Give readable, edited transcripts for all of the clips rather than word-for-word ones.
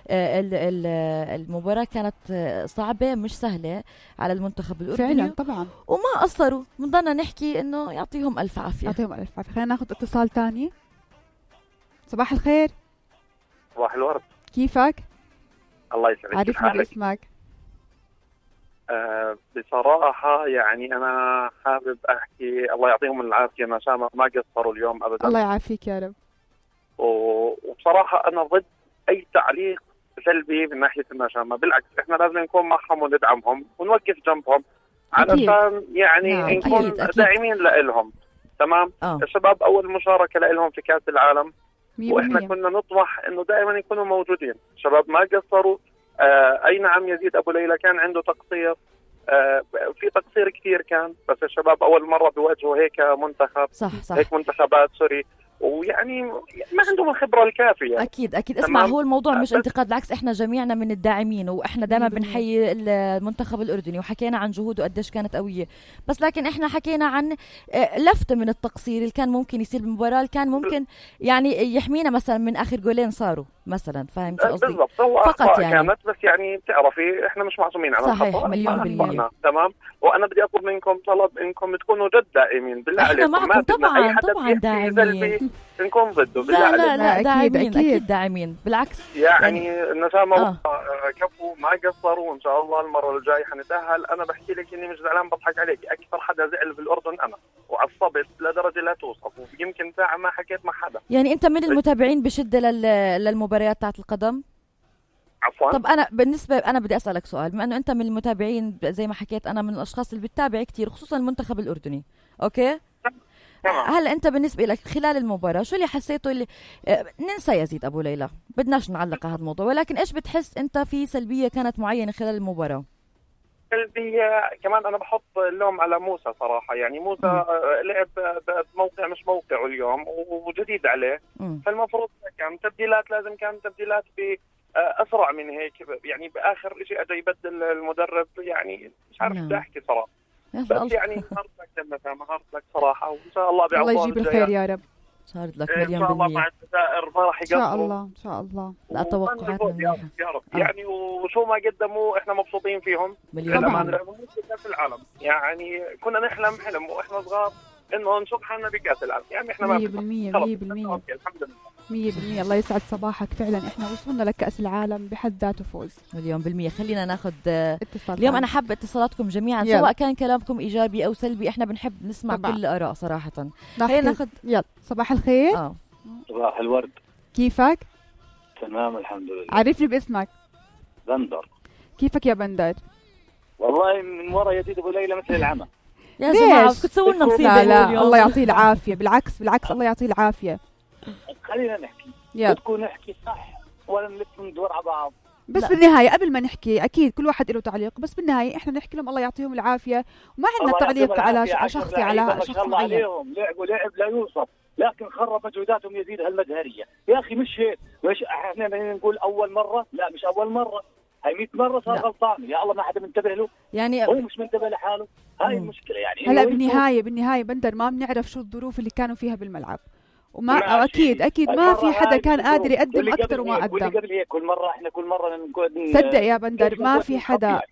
المباراة كانت صعبة مش سهلة على المنتخب الأردني فعلا طبعا، وما قصروا. بنضلنا نحكي إنه يعطيهم ألف عافية. يعطيهم ألف عافية. خلينا ناخد اتصال تاني. صباح الخير. صباح الورد. كيفك؟ الله يسعدك. عرفنا باسمك. بصراحة يعني أنا حابب أحكي الله يعطيهم العافية، نشامة ما قصروا اليوم أبدا. الله يعافيك يا رب. وبصراحة أنا ضد أي تعليق سلبي من ناحية النشامة، بالعكس إحنا لازم نكون معهم وندعمهم ونوقف جنبهم علشان يعني نكون داعمين لإلهم. تمام. الشباب أول مشاركة لإلهم في كأس العالم وإحنا كنا نطمح إنه دائما يكونوا موجودين. الشباب ما قصروا. أي نعم يزيد أبو ليلى كان عنده تقصير، في تقصير كثير كان، بس الشباب أول مرة بيواجهوا هيك منتخب. صح. هيك منتخبات سوري، ويعني ما عندهم الخبرة الكافية. أكيد اسمع، هو الموضوع مش انتقاد، بالعكس إحنا جميعنا من الداعمين وإحنا دائما بنحيي المنتخب الأردني وحكينا عن جهوده قديش كانت قوية، بس لكن إحنا حكينا عن لفتة من التقصير اللي كان ممكن يصير بالمباراة، اللي كان ممكن يعني يحمينا مثلا من آخر جولين صاروا مثلا. فاهم شو قصدي؟ بالضبط. فقط يعني كانت، بس يعني بتعرفي إحنا مش معصومين على الخطأ. صحيح، مليون بالمية. تمام. وأنا بدي أطلب منكم طلب إنكم تكونوا جد دائمين بالله عليكم. معكم طبعا داعمين. نكون ضده بالله عليكم. لا أكيد داعمين بالعكس. يعني النشامة كفوا ما قصروا، وإن شاء الله المرة الجاي حنتأهل. أنا بحكي لك إني مش زعلان، بضحك عليك. أكثر حدا زعل في الأردن أنا، وعصبت لدرجة لا توصف، ويمكن ساعة ما حكيت مع حدا. يعني أنت من المتابعين بشدة للمباريات تاعت القدم؟ عفوا. طب أنا بدي أسألك سؤال، بما أنه أنت من المتابعين زي ما حكيت، أنا من الأشخاص اللي بتتابع كتير خصوصا المنتخب الأردني. أوكي؟ هلا أنت بالنسبة لك خلال المباراة شو اللي حسيته اللي ننسى يزيد أبو ليلى، بدناش نعلق على هذا الموضوع، ولكن إيش بتحس أنت في سلبية كانت معينة خلال المباراة؟ سلبية كمان أنا بحط اللوم على موسى صراحة. يعني موسى لعب بموقع مش موقعه اليوم وجديد عليه. فالمفروض كان تبديلات، لازم كان تبديلات بأسرع من هيك. يعني بآخر شيء أجا يبدل المدرب. يعني مش عارف بدي أحكي صراحة، بس يعني هارد لك صراحة، وإن شاء الله بيعوضون. الله يجيب الخير يا رب. صارت لك إن شاء الله مع الجزائر ما راح يقصروا. إن شاء الله. لا توقعاتنا يا رب. يعني وشو ما قدموا إحنا مبسوطين فيهم. طبعا. كأس العالم يعني كنا نحلم حلم وإحنا صغار إنه نشوف حالنا بكأس العالم. يعني إحنا 100% الحمد لله. 100%. الله يسعد صباحك. فعلا احنا وصلنا لكأس العالم بحد ذاته فوز. 100%. خلينا ناخذ اتصال اليوم. أنا حابة اتصالاتكم جميعا سواء كان كلامكم إيجابي أو سلبي، احنا بنحب نسمع كل الآراء صراحة. خلينا ناخذ. يلا صباح الخير. صباح الورد. كيفك؟ تمام الحمد لله. عرفني باسمك. بندر. كيفك يا بندر؟ والله من ورا يزيد أبو ليلى مثل العمى. يا جماعة كنت تسووا لنا مصيبة. لا الله يعطيه العافية. بالعكس الله يعطيه العافية. خلينا نحكي. بدكم نحكي صح ولا نلف ندور على بعض؟ بس بالنهاية قبل ما نحكي أكيد كل واحد له تعليق، بس بالنهاية إحنا نحكي لهم الله يعطيهم العافية، وما عندنا تعليق على شخصي على شخص معين. لعبوا لعب لا يوصف، لكن خرب مجهوداتهم يزيد هالمجهرية. يا أخي مش هيك. مش إحنا نقول أول مرة، لا مش أول مرة، هاي 100 مرة صار غلطان. يا الله ما حدا منتبه له. يعني هو مش منتبه لحاله. هاي المشكلة. يعني هلا بالنهاية بندر ما بنعرف شو الظروف اللي كانوا فيها بالملعب، وما أكيد ما في حدا كان قادر يقدم أكثر وما قدم. كل مرة نقول صدق يا بندر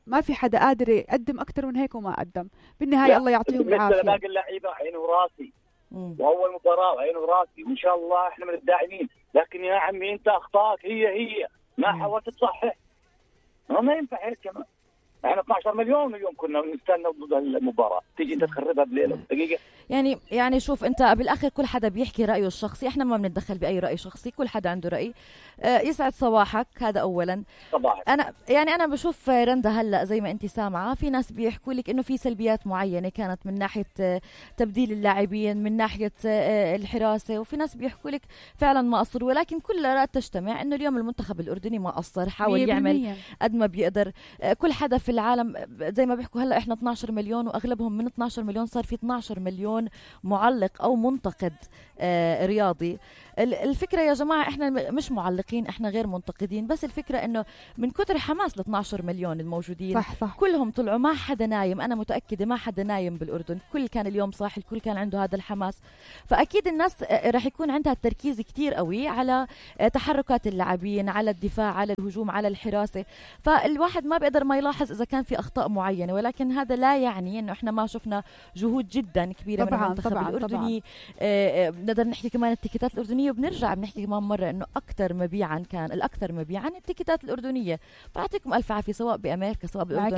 ما في حدا قادر يقدم أكثر من هيك وما قدم. بالنهاية الله يعطيهم العافية. باقي اللعيبة عينه وراسي، وأول مباراة عينه وراسي، وإن شاء الله إحنا من الداعمين. لكن يا عمي أنت أخطاك هي ما حاولت تصحح. ما ينفع هيك كمان. احنا 12 مليون اليوم كنا نستنى ضد المباراة، تيجي انت تخربها بليلة دقيقة. يعني شوف انت بالاخر كل حدا بيحكي رأيه الشخصي، احنا ما بنتدخل بأي رأي شخصي، كل حدا عنده رأي. يسعد صباحك. هذا اولا. صباحك. انا بشوف رندا هلا زي ما انت سامعة في ناس بيحكوا لك انه في سلبيات معينة كانت من ناحية تبديل اللاعبين، من ناحية الحراسة، وفي ناس بيحكوا لك فعلا ما قصر، ولكن كل الآراء تجتمع انه اليوم المنتخب الأردني ما قصر، حاول يعمل قد ما بيقدر. كل حدا في العالم زي ما بيحكوا هلا احنا 12 مليون، واغلبهم من 12 مليون صار في 12 مليون معلق او منتقد رياضي. الفكره يا جماعه احنا مش معلقين، احنا غير منتقدين، بس الفكره انه من كتر حماس ال 12 مليون الموجودين صح. كلهم طلعوا، ما حدا نايم، انا متاكده ما حدا نايم بالاردن، الكل كان اليوم صاحي، الكل كان عنده هذا الحماس. فاكيد الناس رح يكون عندها التركيز كتير قوي على تحركات اللاعبين، على الدفاع، على الهجوم، على الحراسه. فالواحد ما بيقدر ما يلاحظ اذا كان في اخطاء معينه، ولكن هذا لا يعني انه احنا ما شفنا جهود جدا كبيره من المنتخب الاردني. بنقدر نحكي كمان التيكيتات الاردنيه، وبنرجع بنحكي كمان مره انه اكثر مبيعا كان الاكثر مبيعا التيكيتات الاردنيه. فاعطيكم الف عافيه سواء بامريكا سواء بالاردن،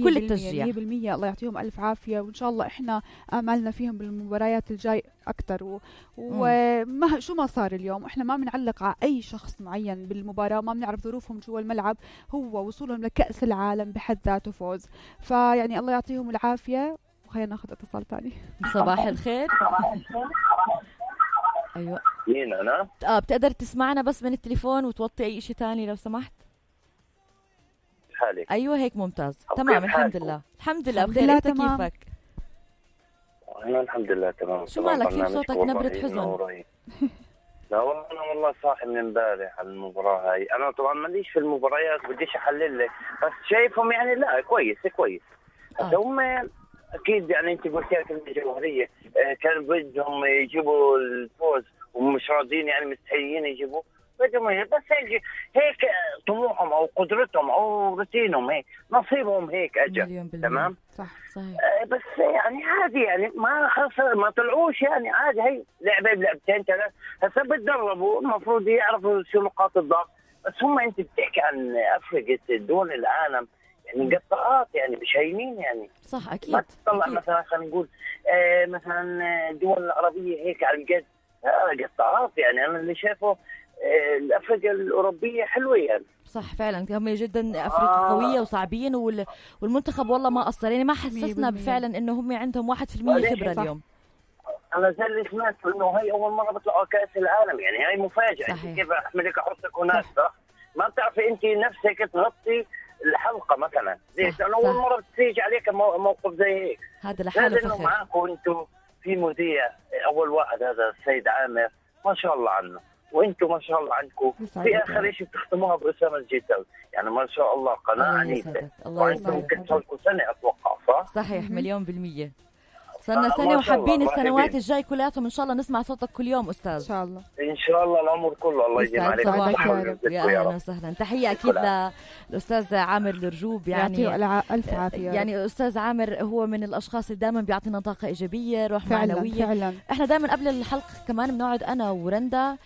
كل التشجيع 100%. الله يعطيهم الف عافيه، وان شاء الله احنا املنا فيهم بالمباريات الجاي اكثر. وما شو ما صار اليوم احنا ما بنعلق على اي شخص معين بالمباراه، ما بنعرف ظروفهم جوا الملعب، هو وصولهم لكأس العالم بحد ذاته فوز. فيعني الله يعطيهم العافيه. وخلينا ناخذ اتصال ثاني. صباح الخير. ايوه مين انا؟ بتقدر تسمعنا بس من التليفون وتوطي اي شيء ثاني لو سمحت؟ حالك؟ ايوه هيك ممتاز. تمام الحمد لله. الحمد لله بخير. انت كيفك؟ انا الحمد لله تمام. شو مالك في صوتك نبرة حزن؟ لا والله انا صاحي من امبارح على المباراه هاي. انا طبعا ماليش في المباريات بديش احلل لك، بس شايفهم يعني لا كويس. هسه هم اكيد يعني انت قلت لك كلمه جوهريه، كان بدهم يجيبوا الفوز ومش راضيين، يعني مستحيين يجيبوا، بدهم بس هيك طموحهم او قدرتهم او روتينهم، هيك نصيبهم هيك اجى. تمام صح صحيح. بس يعني عادي، يعني ما خسر ما طلعوش، يعني عادي، هي لعبه بلعبتين ثلاث. هسه بتدربوا المفروض يعرفوا شو نقاط الضعف. بس هم انت بتحكي عن افريقيا دول العالم يعني قطعات، يعني مش هينين يعني. صح اكيد. ما تطلع مثلا خلينا نقول مثلا الدول العربيه هيك على القد قطعات. يعني انا اللي شايفه الافريقيا الاوروبيه حلوه يعني. صح فعلا هم جدا افريقيا قويه وصعبين، والمنتخب والله ما قصر، يعني ما حسسنا فعلا انه هم عندهم 1% خبره اليوم. انا زي اللي سمعت انه هي اول مره بيطلعوا كاس العالم، يعني هاي مفاجاه. كيف احملك احطك هناك ما بتعرفي انت نفسك تغطي الحلقه مثلا. ليش؟ لانه اول مره بتيجي عليك موقف زي هيك. هذا لحاله فخر. معاكم انتم في مذيع اول واحد، هذا السيد عامر، ما شاء الله عنه، وانتم ما شاء الله عنكم في اخر شيء بتختموها باسامه الجداوي، يعني ما شاء الله قناه عنيفه. وانتم ممكن تسولكم سنه اتوقع، صح؟ صحيح 100%. صرنا سنه وحابين السنوات الجاي كلياتهم ان شاء الله نسمع صوتك كل يوم استاذ. ان شاء الله ان شاء الله العمر كله. الله يجزي عليك. يا اهلا وسهلا. تحيه اكيد للاستاذ عامر الرجوب، يعني يعطيه الف عافيه. يعني استاذ عامر هو من الاشخاص اللي دائما بيعطينا طاقه ايجابيه، روح معنويه. فعلا. احنا دائما قبل الحلقه كمان بنقعد انا ورندا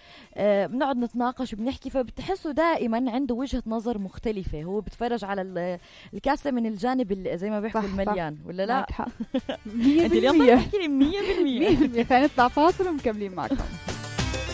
بنقعد نتناقش وبنحكي، فبتحسوا دائما عنده وجهه نظر مختلفه، هو بتفرج على الكاسه من الجانب زي ما بيحكوا المليان، ولا لا؟ 100%. انت اليوم بتحكي لي 100%. خلينا نطلع فاصل ومكملين معكم.